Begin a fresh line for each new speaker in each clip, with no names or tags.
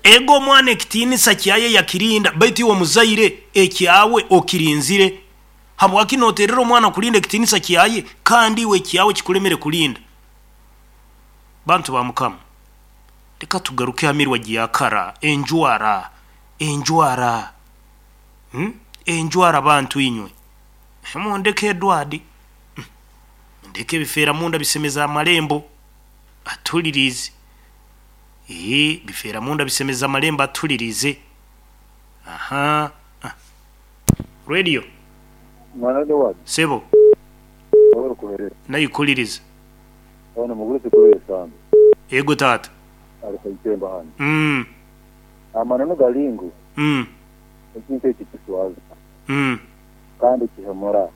Ego omwana ekitiinisa kyaye yakirinda, baitu iwe omuzaire ekyawe okirinzire. Habwaki noterera omwana kurinda ekitiinisa kyaye kandi iwe ekyawe kikulemere kurinda? Bantu ba Mukama, leka tugaruke ha mirwa gya kara, enjwara, enjwara, hmm, enjwara bantu inywe. Mundeke Edward, mundeke ebifeera munda bisemeza amarembo, atuliriize. Eeh, bifeera munda bisemeza amarembo atuliriize. Aha, ah. Radio.
Mwana Edward.
Sebo.
Webale kuhereza.
Naikuliriza.
Ono mugurusi kuri esambu.
Ego taata.
Ali kaitemba hanu. Amananu gari ngu ekintu eki kiswaza kandi kihemura.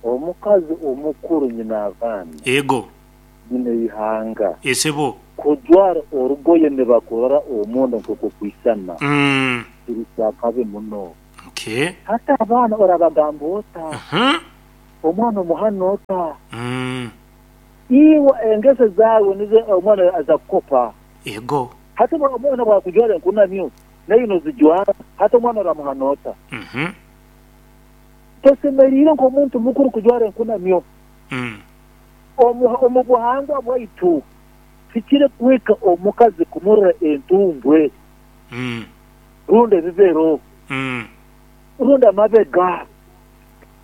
Omukazi omukuru nyina abaana.
Ego.
Nyina eihanga.
Esebo.
Kujwara orugoye nibakurora omunda nk'oku okwisana kiri ky'akabi muno.
Okay.
Hati abaana orabagamba ota? Omwana omuhana ota? Iwe engeso zaawe nizo omwana aza kukopa.
Ego.
Hati omwana bwakujwara enkunamyo, naiwe nozijwara, hati omwana oramuhana ota? Tosemeriire nk'omuntu mukuru kujwara enkunamyo. Omu buhangwa bwaitu, tikiri kuhika omukazi kumurora entumbwe, rundi ebibero, rundi amabega.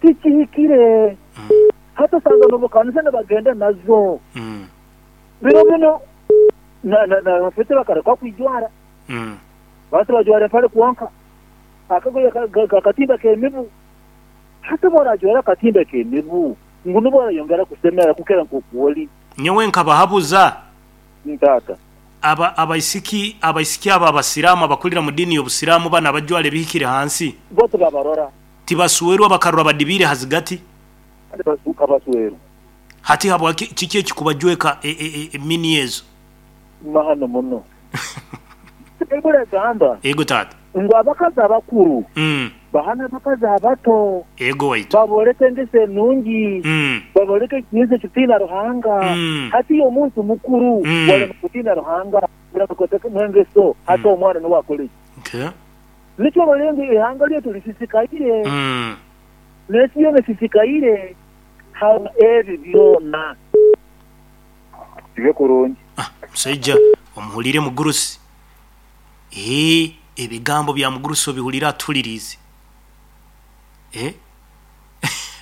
Tikihikire. Hati osanga n'omu kanisa nibagenda nazo. Biro binu nabafete bakareka kwijwara. Bati bajwara empare kwonka. Akagoye akatimba k'emibu. Hati obu orajwara akatimba k'emibu, ngu nubwo orayongera kusemera kukira nk'oku oli.
Nyowe nkabahabuza.
Taata.
Aba abaisiki abaisiki abo abasiraamu abakurira mu diini y'obusiraamu banu abajwara ebihikire hansi.
Bo tibabarora.
Tibaswerwa bakarora badibiire ha zigati.
Kandi basuuka baswerwa.
Hati habwaki kiki ekikubajweka e, e, e, mini ezo?
Mahano muno. Baibuli egamba.
Ego taata.
Ngu abakazi abakuru bahane abakazi abato.
Ego waitu.
Babooleke engeso enungi. Babooleke ekitiinisa ekitiina Ruhanga. Hati iwe omuntu mukuru warema kutiina Ruhanga, orema kweteekamu engeso, hati omwana nuwe akole ki?
Okay.
Nikyo orole ngu eihanga ryaitu risisikaire, n'ensi yoona esisikaire habwa ebi byona. Kibe kurungi.
Ah, musaija omuhuriire mugurusi. Eeh, ebigambo bya mugurusi obihuriire atuhuririize. Eh,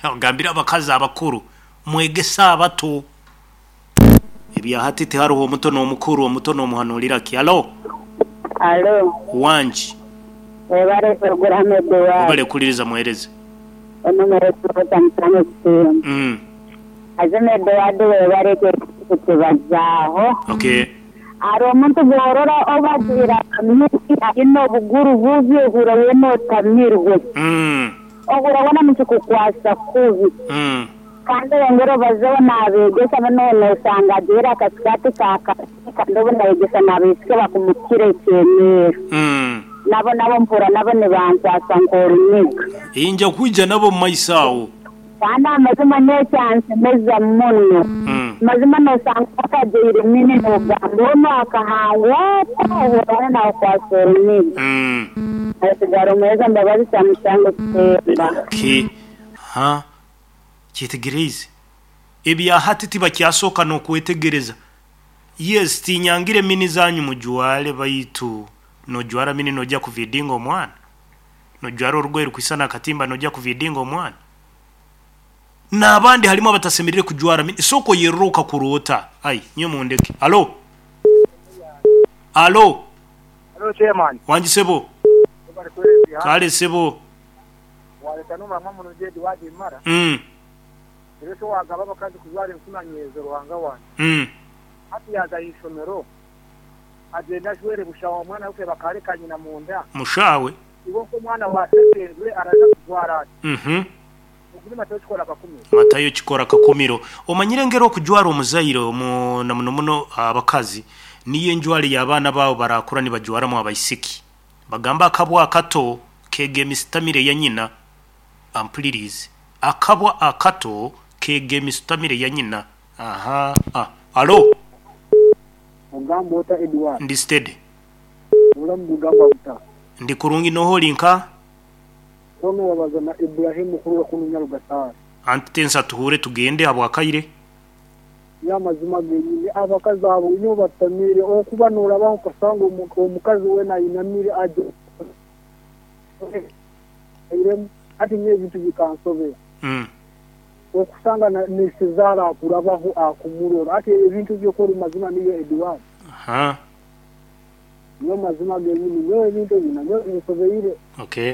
ogambire abakazi abakuru, mwegese abato. Ebya hati tihariho omuto n'omukuru, omuto n'omuhanuurira ki? Halo?
Halo.
Wangi.
Webale puroguramu Eduwadi.
Webale kuhuririza muhereza.
Enumero ekikota mutano ekitemba. Mazima Eduwadi webale ekyo ekikutubazaaho.
Okay.
Hariho omuntu bworora obu ajwaire akamyuki aine obuguru bubi ohurra weena otamirwe. Ohurra weena nikikukwasa kubi. Kandi oyongere obazeho n'abeegesa boona noosanga ajwaire akasikaati ka kaaki kandi obu naayegesa n'abaisiki abakumukira ekyemeero. Nabo nabo mpurra nabo nibankwasa nk'oruniga.
Inja kwija nabo omu maiso aho.
Kandi amazima n'ekyansemeza muno. Mazima noosanga akajwaire mini noogamba onu akahangwa ata ohurra weena naakukwasa oruniga. Asigara omuheereza Mbabazi kyamushanga kutemba.
Okay. Ha. Kyetegereize. Ebya hati tibakyasooka n'okwetegereza. Yes, tinyangire mini zanyu mujware baitu nojwara mini noja kuvidinga omwana? Nojwara orugoye rukwisana akatimba noja kuvidinga omwana? N'abandi harimu abatasemerire kujwara mini. Sooka oyerore okakura ota? Ai, nyowe mundeke. Alo? Alo?
Alo chairman.
Wangi sebo? Kale sebo.
Wareta n'omurama murungi Edward Mara. Reero shi waagaba abakazi kujwara enkunanyeezo Ruhanga wangye. Hati yaaza aha ishomero agyende ajwere busha omwana we kureeba akareka nyina munda.
Mushawe.
Iwe nk'omwana wa Sesengwe araza kujwara ata? Ogu ni Matayo kikora kakumiro.
Matayo kikora kakumiro. Omanyire engeri okujwara omuzaire omu na muno muno abakazi niyo enjwara ei abaana baawe baraakura nibajwaramu abaisiki. Bagamba akabwa akato keega emisitamire ya nyina. Ampuliriize. Akabwa akato keega emisitamire ya nyina. Ahaa. Alo?
Ogamba ota Edward?
Ndi steady.
Obulamu bugamba buta?
Ndi kurungi noha ori nka?
Onu wabaza na Ibrahim kuruga kunu Nyarugasare.
Anti tensa tuhure tugende habwakaire.
Nyowe amazima genyini abakazi abo nyowe batutamiire okuba norabaho okasanga omukazi wena ainamire airemu hati nyowe ebintu bikansobera. Okusanga na isezara akurabaho akumurora hati ebintu byokora mazima niyo Edward. Nyowe mazima genyini nyowe ebintu ebi nanyowe binsobeire.
Okay.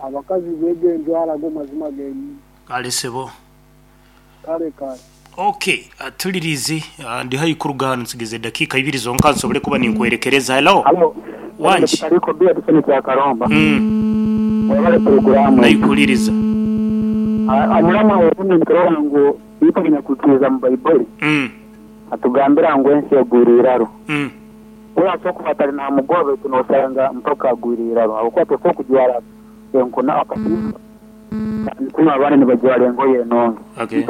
Abakazi bege enjwara ago mazima genyini.
Kale sebo.
Kale kale.
Ok, tuliriize ndi haihi kuruga hanu nsigize edakiika ibiri zonka nsobole kuba ninkwerekereza. Hello?
Halo,
Wangi?
Ariko Bia Disoni kya Karomba. Webale puroguramu.
Naikuliriza.
Omuramwa ogundi niturora ngu itwe abanyakwikiriza mu Baibuli atugambira ngu ensi egwire iraro. We asobora kuba atali namugoba baitu nosanga mpaka agwire iraro habwokuba tosobora kujwara enkuna akatimba kandi kunu abandi nibajwara engoye enungi.
Okay.